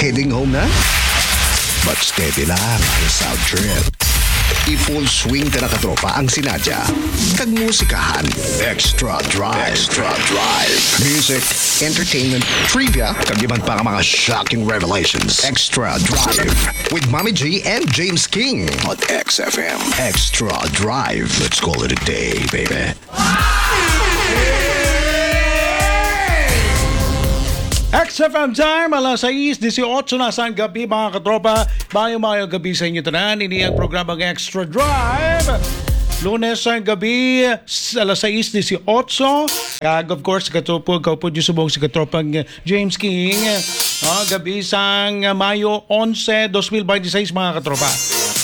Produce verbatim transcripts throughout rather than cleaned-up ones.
Heading home na? But steady lang ang sound trip. I-full swing ta na, katropa, ang sinadya kag musikahan. Extra Drive. Extra Drive. Music, entertainment, trivia, kag iban pa nga mga shocking revelations. Extra Drive with Mommy G and James King on X F M. Extra Drive. Let's call it a day, baby. X F M time, alas sais dieciocho na sang gabi, mga katropa. Mayo-mayo gabi sa inyo tanan. Ini ang programang Extra Drive. Lunes sang gabi, s- alas sais dieciocho. Kag of course, katupo, kaupod nyo subong si katropang James King. Ah, gabi sang Mayo onse, dos mil binte seis, mga katropa.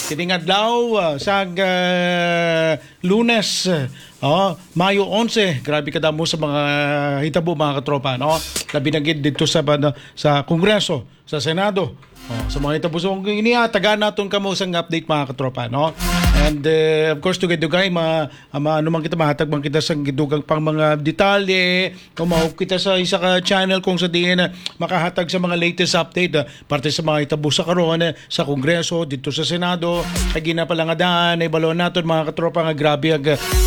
Kining adlaw, ah, sang ah, Lunes, oh, Mayo onse, grabe kadamo sa mga hitabo, mga katropa, no? Labi na gid dito sa ban- sa Kongreso, sa Senado. Oh, sa mga hitabo, so, ini, ah, tagaan naton kamo sang update, mga katropa, no? And uh, of course, dugay-dugay, ma, ma, ano man kita, mahatag man kita sa dugang pang mga detalye, kung mao kita sa isa ka channel kung sa diin, ah, makahatag sa mga latest update, ah, parte sa mga hitabo sa karon, ah, sa Kongreso, dito sa Senado, kag gina pala nga daan, naibaluan naton, mga katropa, nga grabe ang,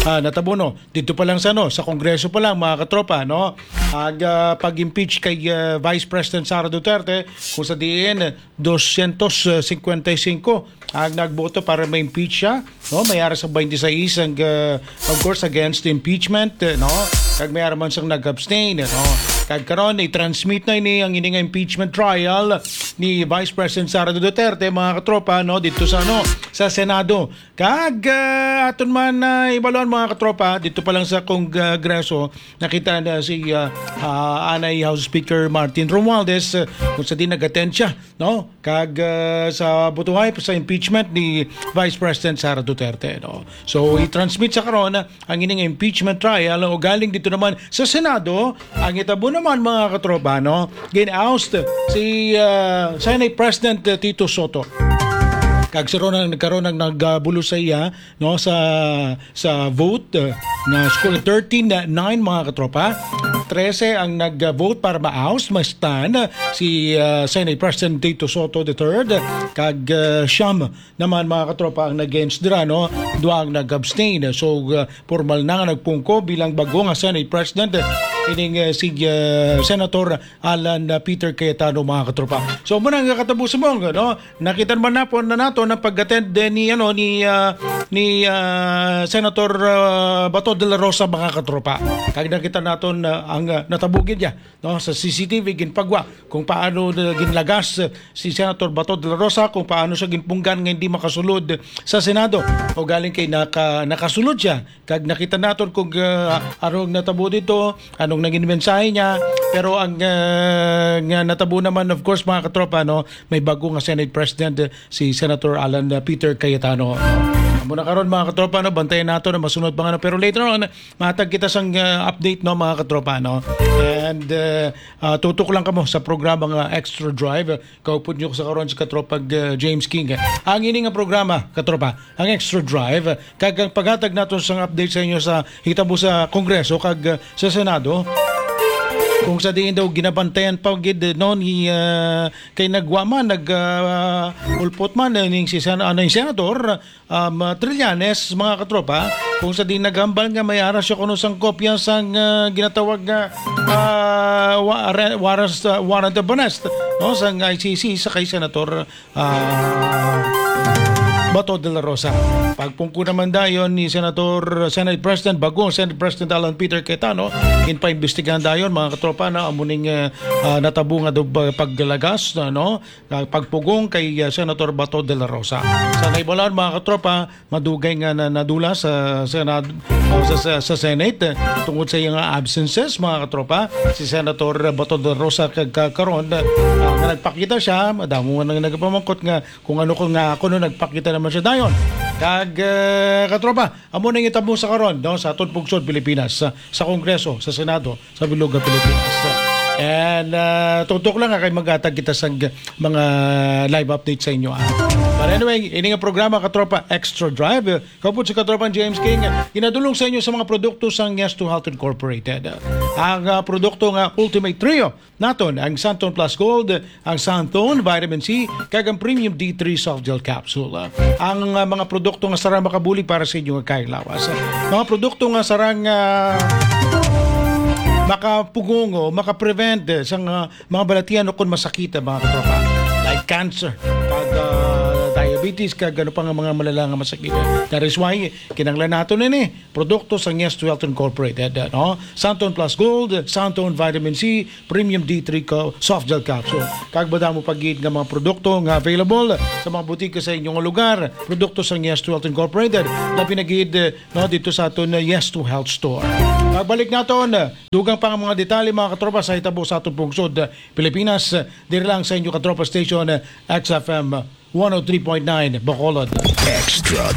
ah, natabo, no? Dito pa lang sa, no, sa Kongreso pa lang, mga katropa, no? Ang, ah, pag-impeach kay, ah, Vice President Sara Duterte, kung sa diin, doscientos cincuenta y cinco ang nagboto para ma-impeach siya, no? May ara sa twenty-six ang, ah, of course, against impeachment, eh, no? Kag may ara man sang nag-abstain, eh, no? Kag karon, i-transmit na ini ang ini nga impeachment trial ni Vice President Sara Duterte, mga katropa, no? Dito sa, ano, sa Senado. Kag, ah, aton man, ah, ibaluan, mga katropa, dito pa lang sa Kongreso, nakita na si, ah, ah, anay House Speaker Martin Romualdez, ah, kung sa di nag-attend siya, no? Kag, ah, sa butuhay sa impeachment ni Vice President Sara Duterte, no? So, i-transmit sa karon ang ining impeachment trial, o galing dito naman sa Senado, ang itabo naman, mga katropa, no? Gin-oust si, ah, Senate President Tito Soto. Kag si Ronald nagkaroon ang nagbulo sa iya, no, sa sa vote, uh, na score thirteen nine, mga katropa. Trese ang nag-vote para ma-oust, ma-stun, uh, si, uh, Senate President Tito Soto the third, kag, uh, siyam naman, mga katropa, ang nag-against dira, no? Dua ang nag-abstain. So, uh, formal na nga nagpungko bilang bago nga Senate President, uh, ining, uh, si, uh, Senator Alan, uh, Peter Cayetano, mga katropa. So, muna nga katapos mo, no? Nakita naman na po na nato na pag-attend din ni, ano, ni, ah, ni, ah, Senator, ah, Bato de la Rosa, mga katropa. Kag nakita naton, ah, ang, ah, natabugid niya, no, sa C C T V, ginpagwa kung paano na ginlagas, eh, si Senator Bato de la Rosa, kung paano siya ginpunggan nga hindi makasulod sa Senado. O galing kay naka-, nakasulod siya. Kag nakita naton kung, ah, ano ang natabo dito, anong naging mensahe niya. Pero ang, ah, nga natabo naman, of course, mga katropa, no, may bago nga Senate President, eh, si Senator Alan, ah, Peter Cayetano. Amo na karon, mga katropa, no, bantayan nato na masunod pa nga, no. Pero later on, matag kita sang, ah, update, no, mga katropa, no. And, ah, ah, tutok lang kamo sa programa nga Extra Drive. Kaupod nyo sa karon si katropag, ah, James King. Ang ini nga programa, katropa, ang Extra Drive, kag ang paghatag nato sang update sa inyo sa hitabo sa Kongreso kag, ah, sa Senado. Kung sa diin daw ginabantayan pa gid, no, ni, ah, kay nagwa man, nag, ah, ulpot man, eh, ning si Sen-, ah, ning Senator, um, ah, Trillanes, mga katropa, kung sa diin naghambal nga may ara siya kuno sang kopya sang, ah, ginatawag nga, ah, wa-, re-, warrants, ah, warrant of arrest, no, sang I C C sa kay Senator ah, Bato de la Rosa. Pagpungko naman dayon ni Senator, Senate President, bagong Senate President Alan Peter Cayetano, ginpaimbestigahan dayon, mga katropa, na amo ning, eh, ah, natabo nga dub-, paglagas, no? Ah, pagpugong kay, ah, Senator Bato de la Rosa. Sa naibalan, mga katropa, madugay nga na, nadula sa Senado, ah, sa, sa, sa Senate, eh, tungod sa iyang absences, mga katropa. Si Senator Bato de la Rosa kag ka-, karon, ah, nga nagpakita siya, madamo nga nang nagpamangkot nga kung ano ko nga kuno nagpakita naman siya dayon. Kag, eh, katropa, amo na yung tabo sa karon, no, sa aton pungsod Pilipinas, sa, sa Kongreso, sa Senado, sa bilog nga Pilipinas. And uh, tutok lang ha, kay maghatag kita sang mga live update sa inyo. Ha? But anyway, ini nga programa, Katropa, Extra Drive, kaupod si Katropang James King, ginadulong sa inyo sa mga produkto sang Yes to Health Incorporated. Ang uh, produkto nga Ultimate Trio naton, ang Santon Plus Gold, ang Santon Vitamin C, kag ang Premium D three Soft Gel Capsule. Ang uh, mga produkto nga sarang makabulig para sa inyo nga kaayong lawas. Mga produkto nga sarang uh, makapugong o makaprevent sa uh, mga balatian o kung masakit, mga katropa, like cancer, kag uh, diabetes, kag ano pa nga mga malala nga masakit. That is why kinahanglan nato ini produkto sang Yes to Health Incorporated, no? Santon Plus Gold, Santon Vitamin C, Premium D three co- Soft Gel Capsule. Kag madamo pa gid nga mga produkto nga available sa mga butika sa inyong lugar. Produkto sang Yes to Health Incorporated. Labi na gid, no, dito sa aton uh, Yes to Health Store. Pagbalik naton, dugang pa nga mga detalye, mga katropa, sa hitabo sa aton pungsod, uh, Pilipinas, uh, diri lang sa inyo katropa station, uh, X F M one oh three point nine Bacolod. Extra